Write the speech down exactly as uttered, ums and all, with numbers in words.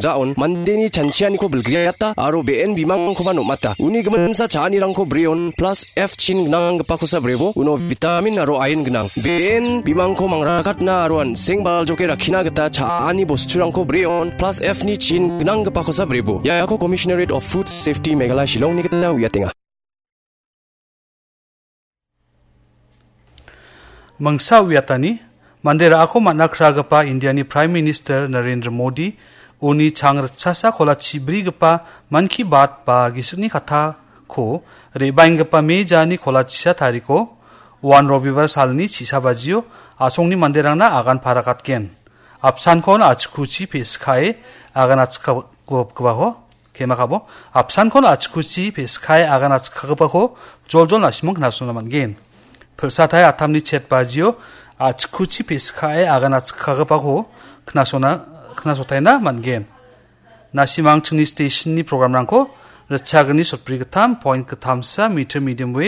gita on, mandeni chanchianiko bilgriata aro be·en bimangkoba nom·ata. Uni giminsa cha·anirangko breon plus F chin gnanggipakosa brebo, uno vitamin aro iron gnang. Be·en bimangko mangrakatna aro an·seng baljoke rakkina gita cha·ani bosturangko breon plus F ni chin gnanggipakosa brebo. Iako Commissionerate of Food Safety Meghalaya Shillongni gita uiatenga. Mangsa uiatani, mande ra·ako man·a kragipa Indiani Prime Minister Narendra Modi uni chang ritchasa kolachi brigipa Mann Ki Baat ba gisikni kattako re·baenggipa Me jani kolachisa tariko uan Robibar salni chisa bajio asongni manderangna agan parakatgen. Apsankon achikuchi pe·sikae agan achikagipako, kemakabo, apsankon achikuchi pe·sikae agan achikagipako joljol nasimang knasona man·gen. Pilsatai atamni chet bajio achikuchi pe·sikae agan achikagipako knasona, knasotaina man·gen. Nasimang chingni stationni programrangko ritchagni sotbri gittam point gittamsa meter medium wave